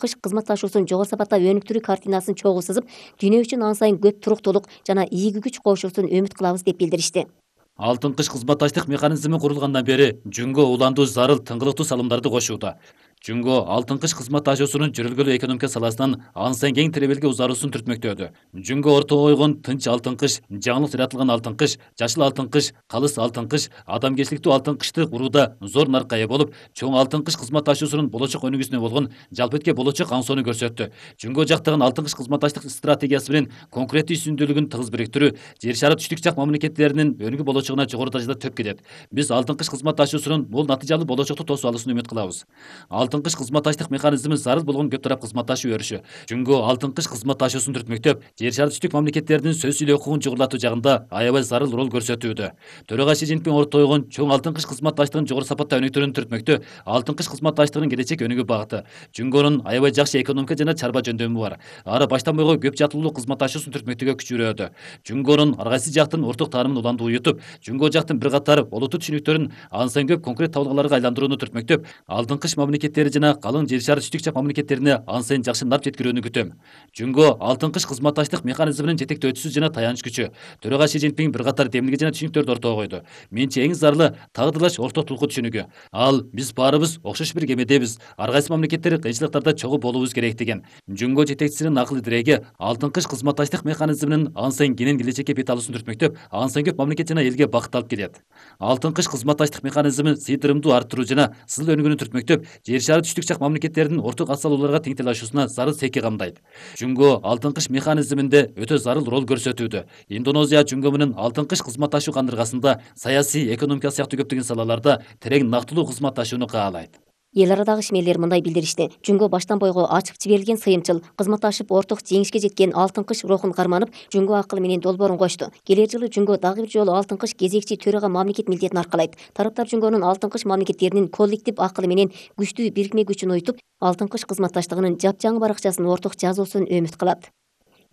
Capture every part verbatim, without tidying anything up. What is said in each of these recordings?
кыш кызматташуусун жогору сапатта өнүктүрүү картинасын чогуу сызып, дүйнө үчүн ан сайын көп туруктуулук жана ийги күч кошуусун үмүт кылабыз деп билдиришти. Алтын кыш кызматташтык механизми курулгандан бери Жүнгө уландуу зарыл тыңгылыктуу салымдарды кошууда. Жүнгө алтын кыш кызматташуусунун жүрүлгөлүү экономика саласынан ан сайын кең тиребелге узаруусун түртмөктөдү. Жүнгө ортого койгон тынч алтын кыш, жаңылык жаратылган алтын кыш, жашыл алтын кыш, калыс алтын кыш, адамгерчиликтүү алтын кышты курууда зор наркка ээ болуп, чоң алтын кыш кызматташуусунун болочок өнүгүүсүнө болгон жалпы болочок аңсоону көрсөттү. Жүнгө жактаган алтын кыш кызматташтык стратегиясы менен конкуренттүү үстүндүүлүгүн тыгыз бириктирүү, жер шары түштүк жак мамлекеттеринин өнүгүү болочогуна жогору даражада төп келет. Биз алтын кыш кызматташуусунун бул натыйжалуу болочокту тосуп алуусун үмүт кылабыз. Алтын кыш кызматташтык механизми зарыл болгон көп тарап кызматташуу өрүшү. Жүнгө алтын кыш кызматташуусун түртмөктөп, жер шары түштүк мамлекеттеринин сөз сүйлөө укугун жогорулатуу жагында аябай зарыл роль көрсөтүүдө. Төрага Си Цзиньпин ортого койгон чоң алтын кыш кызматташтыгын жогору сапатта өнүктүрүүнү түртмөктө, алтын кыш кызматташтыгынын келечек өнүгүү багыты. Жүнгөнүн аябай жакшы экономика жана чарба жөндөмү бар. Ары баштан бойго көп жааттуулуу кызматташуусун түртмөктөгө күч жүрөдү. Жүнгөнүн ар кайсы жактын орток таанымын уланды уютуп, Жүнгө жактын бир катар олуттуу түшүнүктөрүн ан сайын көп конкрет табылгаларга айландырууну түртмөктөп, алтын кыш мамлекеттери жана калың жер шары түштүк жак мамлекеттерине ан сайын жакшы нарп жеткирүүнү күтөм. Жүнгө алтын кыш кызматташтык механизминин жетектөөчүсү жана таяныч күчү. Төрага Си Цзиньпин бир катар демилге жана түшүнүктөрдү ортого койду. Менчи эң зарылы тагдырлаш ортоктулукку түшүнүгү. Ал биз баарыбыз окшош бир кемедебиз. Ар кайсы мамлекеттер кыйынчылыктарда чогуу болуубуз керек деген. Жүнгө жетекчисинин акыл тиреги алтын кыш кызматташтык механизминин ан сайын кенен келечекке бет алуусун түртмөктөп, ан сайын көп мамлекет жана элге бакыт алып келет. Алтын кыш кызматташтык механизми сыйдырымдуу арттыруу жана сызыл өнүгүүнү түртмөктөп, жер шары түштүк жак мамлекеттеринин орток ат салууларга тең талашуусуна зарыл секи камдайт. Жүнгө алтын кыш механизминде өтө зарыл роль көрсөтүүдө. Индонезия Жүнгө менен алтын кыш кызматташуу кандыргасында саясий, экономика сыяктуу көптөгөн салаларда терең нактылуу кызматташууну каалайт. Эл арадагы ишмерлер мындай билдиришти. Жүнгө баштан бойго ачып жиберилген сыйымчыл, кызматташып орток жеңишке жеткен алтын кыш рухун карманып, Жүнгө акылы менен долбоорун кошту. Келер жылы Жүнгө дагы бир жолу алтын кыш кезекчи төрага мамлекет милдетин аркалайт. Тараптар Жүнгөнүн алтын кыш мамлекеттеринин коллектив акылы менен күчтүү бирикме күчүн уютуп, алтын кыш кызматташтыгынын жапжаңы баракчасын орток жазуусун үмүт кылат.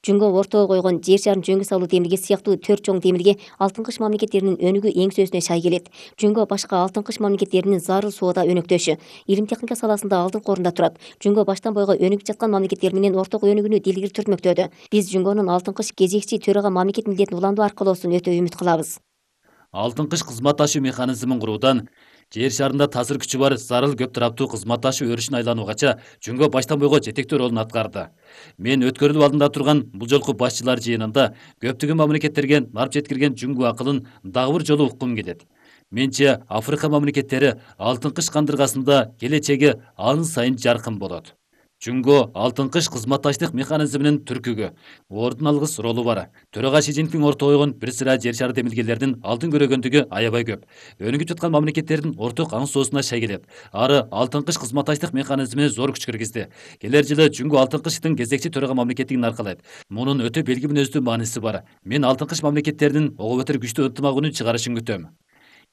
Жүнгө ортого койгон жер шарын жөнгө салуу демилге сыяктуу төрт чоң демилге алтын кыш мамлекеттеринин өнүгүү эңсөөсүнө шай келет. Жүнгө башка алтын кыш мамлекеттеринин зарыл соода өнөктөшү, илим техника саласында алдыңкы орунда турат. Жүнгө баштан бойго өнүгүп жаткан мамлекеттер менен орток өнүгүүнү дилгири түртмөктөдү. Биз Жүнгөнүн алтын кыш кезекчи төрага мамлекет милдетин уландуу аркылоосун өтө үмүт кылабыз. Алтын кыш кызматташуу механизмин куруудан жер шарында таасир күчү бар зарыл көп тараптуу кызматташуу өрүшүн айлануугача Жүнгө баштан бойго жетектөө ролун аткарды. Мен өткөрүлүп алдында турган бул жолку башчылар жыйынында көптөгөн мамлекеттерге нарп жеткирген Жүнгө акылын дагы бир жолу уккум келет. Менче Африка мамлекеттери алтын кыш кандыргасында келечеги ан сайын жаркын болот. Жүнгө алтын кыш кызматташтык механизминин түркүгү, ордун алгыс ролу бар. Төрага Си Цзиньпин ортого койгон бир сыра жер шары демилгелердин алдын көрөгөндүгү аябай көп. Өнүгүп жаткан мамлекеттердин орток аңсоосуна шай келет. Ары алтын кыш кызматташтык механизмине зор күч киргизди. Келер жылы Жүнгө алтын кыштын кезекчи төрага мамлекеттигин аркалайт. Мунун өтө белги мүнөздүү мааниси бар. Мен алтын кыш мамлекеттеринин ого бетер күчтүү ынтымагын чыгарышын күтөм.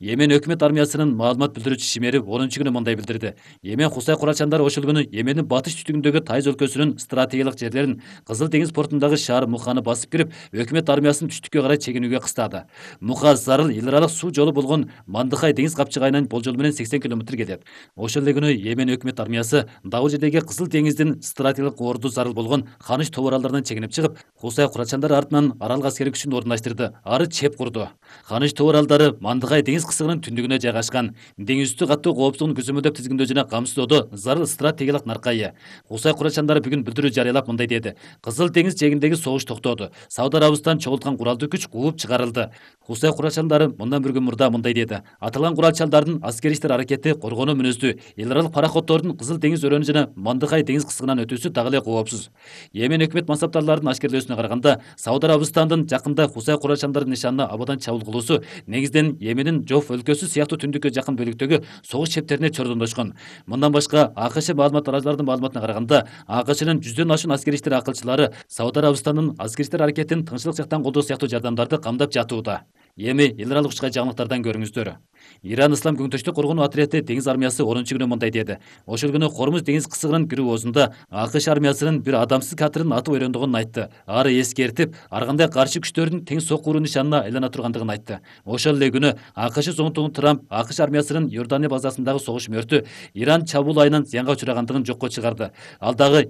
Йемен өкмөт армиясынын маалымат билдирүүчү шимери онунчу күнү мындай билдирди. Йемен Хусай куралчандары ошол күнү Йемендин батыш түштүгүндөгү Тайыз өлкөсүнүн стратегиялык жерлерин Кызыл деңиз портундагы шаар Муханы басып кирип, өкмөт армиясын түштүккө карай чегинүүгө кыстады. Муха зарыл эл аралык суу жолу болгон Мандыхай деңиз капчыгайынан болжол менен сексен километр келет. Ошол эле күнү Йемен өкмөт армиясы дагы жердеги Кызыл деңиздин стратегиялык орду зарыл болгон Ханыш тоо аралдарынан чегинип чыгып, Хусай куралчандары артынан аралык аскерий күчүн орундаштырды. Ары чеп курду. Ханыш тоо аралдары Мандыхай деңиз кысыгынын түндүгүнө жайгашкан. Деңиз үстү каттуу коопсуздугун көзөмөлдөп тизгиндөө жана камсыздоодо зарыл стратегиялык наркка ээ. Хусай куралчандары бүгүн билдирүү жарыялап мындай деди. Кызыл деңиз жээгиндеги согуш токтоду. Сауд Арабистан чогулткан куралдуу күч кууп чыгарылды. Хусай куралчандары мындан бир күн мурда мындай деди. Аталган куралчалдардын аскерий иштер аракети коргонуу мүнөздүү. Эл аралык пароходдордун Кызыл деңиз өрөөнү жана Мандыхай деңиз кысыгынан өтүүсү дагы эле коопсуз. Йемен өкмөт мансаптарларынын ашкерлөөсүнө караганда, Сауд Арабистандын жакында Хусай куралчандардын нишанына абадан чабуул кылуусу негизден Йеменин Жоф өлкөсү сыяктуу түндүккө жакын бөлүктөгү согуш чептерине чордондошкон. Мындан башка АКШ маалымат тараачыларынын маалыматына караганда, АКШнын жүздөн ашуун аскерий иштер акылчылары Сауд Арабистандын аскерий иштер аракетин тынччылык жактан колдоо сыяктуу жардамдарды камдап жатууда. Эми эл аралык учкай жаңылыктардан көрүңүздөр. Иран Ислам көңтөштүк коргонуу отряды деңиз армиясы онунчу күнү мындай деди. Ошол күнү Хормуз деңиз кысыгынын кирүү оозунда АКШ армиясынын бир адамсыз катерин атып ойрондогонун айтты. Ары эскертип, ар кандай каршы күчтөрдүн тең сокку уруу нишанына айлана тургандыгын айтты. Ошол эле күнү АКШ АКШ зоомтугу Трамп АКШ армиясынын Иордания базасындагы согуш мөртү Иран чабуул айынан зыянга учурагандыгын жокко чыгарды. Ал дагы